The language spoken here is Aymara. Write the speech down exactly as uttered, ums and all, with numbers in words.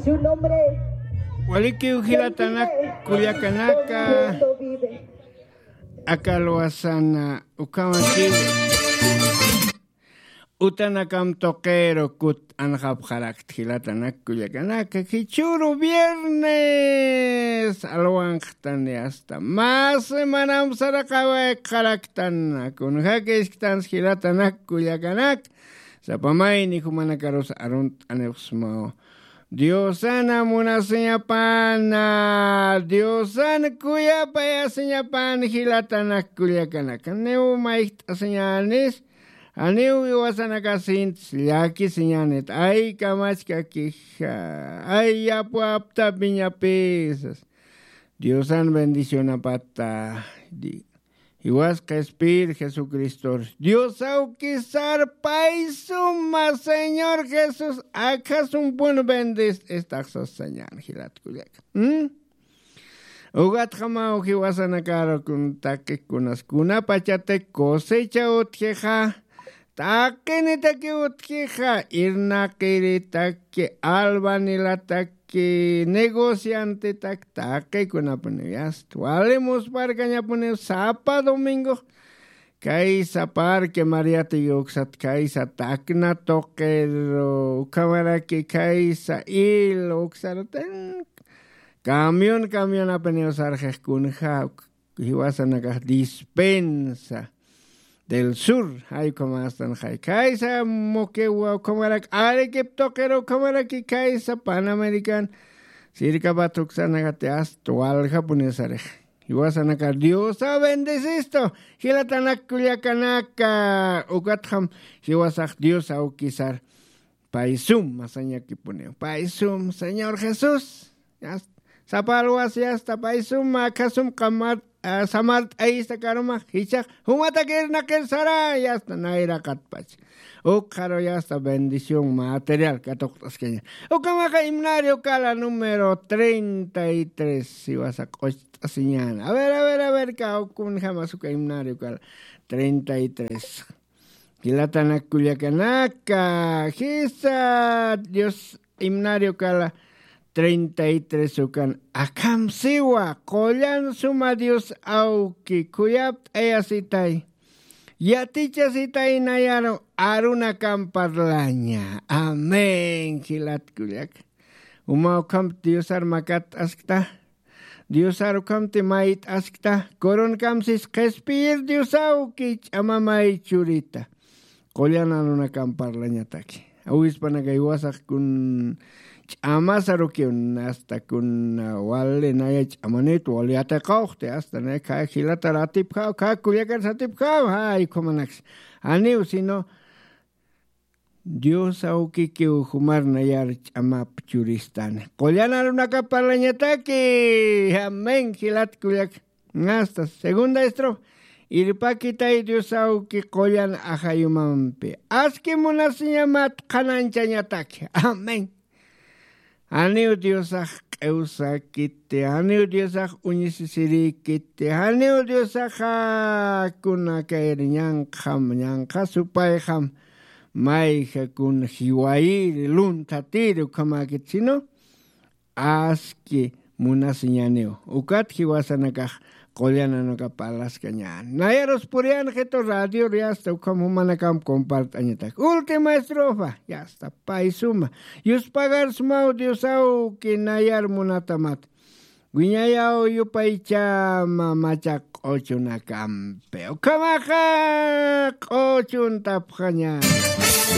Su nombre. Walikiw jilatanak kullakanaka. Aka alwasana ukhamakiw utanakam tuqiru kut anxapxarakta jilatanak kullakanaka, jichhüru viernes alwanxtani asta mä semanam saraqawayxaraktan. Kunjakisktansa jilatanak kullakanaka, sapa mayni jumanakarus arunt'anipxsmaw. Diosana munasiñapana, Diosana kuyapayasiñapana jilatanak kullakanaka. Janiw mayjt'asiñänis, janiw jiwasanakasintis llakisiñänit. Ay kamachkakija, ay yapwaptapiñapisas. Diosan bendicionapata. Di- Jiwas qhispiyir Jesucristor. Dios awkisar pay suma, Señor Jesús, akhasumpun bendis istaxsas sañän jilat kullaka. ¿Mm? Ugatjamaw jiwasanakar kun taqikunas, kunapachatik cosecha utjixa, taqinitaki utjixa, irnaqiritaki, albañilataki, negociantetak, taqikunapuniw yasta. Wali musparkañapuniw sapa domingo. Kaysa Parque Mariatiguy uksat, kaysa Tacna tuqir, ukhamaraki kaysa Il uksarutin. Camión, camionapuniw sarxix kunja, jiwasanakax Dispensa del Sur, jay ukhamastan jay. Kaysa Moquegua, ukhamarak Arequipa tuqir, ukhamaraki kaysa Panamericana, sirkapat uksanakati asta waljapuniw sarix. Jiwasanakar Diosa bendicistu, jilatanak kullakanaka, ukatjam jiwasax Dios awkisar. Pay sum masañakipuniw. Pay sum, Señor Jesús. Yasta. Sapa alwas yasta, pay sum, akha sum qamar, ah, samart'ayista karuma, jichhax, jumatak irnaqir sara, yasta, nayraqatpach. Ukxaru yasta bendición material katuqt'askaña. Ukamaxa himnario kala número treinta y tres, jiwasa q'ucht'asiñäna. A ver, a ver, a ver, kawkun jamas uka himnario kala treinta y tres. Jilatanak kullakanaka, jisa Dios himnario kala treinta y tres ukan, akham siwa, qullan suma Dios awki, khuyapt'ayasitay, yatichasitay nayaru arunakam parlaña. Amén, jilat kullaka. Uma ukhamti Diosar makatt'askta, Diosar ukhamti mayt'askta, coronakam sis qhispiyir Dios awki ch'ama may churita. Qullan arunakam parlañataki. Awispanaka jiwasax kun ch'amasarukiw, asta kun, ah, wali naya ch'amanit, wali yatiqawxti, asta naya kha jilatar atipjaw, kha kullakar satipjaw, jay ukhamanaks. Janiw, sino Dios awkikiw jumar nayar ch'amap churistani. Qullan arunakap parlañataki. Amén, jilat kullak. Asta segunda estrofa. Irpakitay Dios awki qullan ajayumampi. Aski munasiñamat qhanañchañataki. Amén. Janiw Diosax q'iwsakiti, janiw Diosax uñisisirïkiti, janiw Diosaxa kunakayri ñanqham, ñanqha supayxam, mayja kun jiwayiri, lunthatiri ukhamäkiti, sino aski munasiñaniw. Ukat jiwasanakax qullan arunakap parlaskañäni. Nayarus puriyäni jitu radior, yasta ukham jumanakamp compart'añatak. Última estrofa, yasta, pay suma. Yuspagar sumaw Dios awki nayar munatamat. Wiñayaw yupaychama machaq q'uchunakampi. Ukhamaxa q'uchuntapxaña.